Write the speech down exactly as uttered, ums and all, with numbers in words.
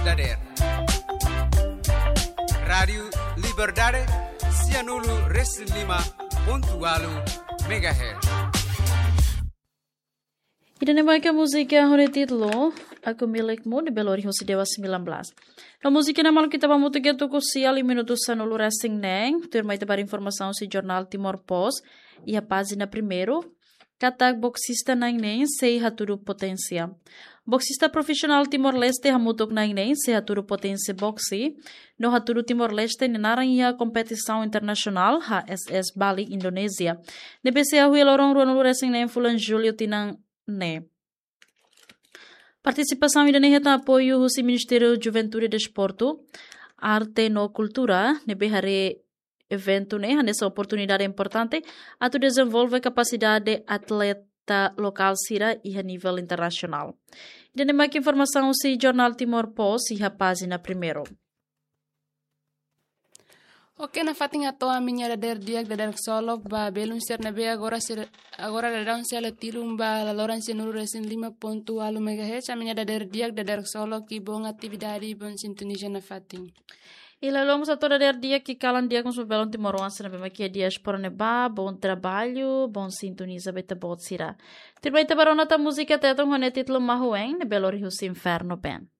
Dader. Rádiu Liberdade, sianulu resin lima pontu ualu megahertz. Ida-ne'e mak múzika ho nia títulu Aku Milikmu, ne'ebé lori husi Dewa sembilan belas. No múzika ne'e maluk ita ba hamutuk iha tuku sia liu minutu sanulu resin neen, tuirmai ita ba informasaun husi jornál Timor Post, iha pájina primeiru, katak boksista na'in neen sei hatudu poténsia. Boksista profisionál Timor-Leste hamutuk na'in neen sei hatudu poténsia boksi, no hatudu Timor-Leste nia naran iha kompetisaun internasionál H S S Bali, Indonézia, ne'ebé sei hahú iha loron ruanulu resin neen fulan Jullu tinan ne'e. Partisipasaun ida-ne'e hetan apoiu husi Ministériu Juventude, Desportu, Arte no Kultura, ne'ebé haree eventu ne'e hanesan oportunidade importante atu dezenvolve kapasidade atleta lokál sira iha nivel internasionál. Ida-ne'e mak informasaun husi jornál Timor Post iha pájina primeiru. Oke, nafatin atu ami-nia dadeer di'ak, dadeer ksolok ba belun sira ne'ebé agora sira, agora daudaun sei halo ba laloran sianulu resin lima pontu ualu megahertz, ami-nia dadeer di'ak, dadeer ksolok, i bom atividade, i bom sintoniza nafatin. I loloos atu dadeer di'ak, i kalan di'ak mós ba belun timoroan sira ne'ebé mak iha diáspora ne'ebá, bom trabalho, bom sintoniza ba ita-boot sira. Tuirmai ita ba rona tan múzika Tetun ho nia títulu Mahuen, ne'ebé lori husi Inferno Band.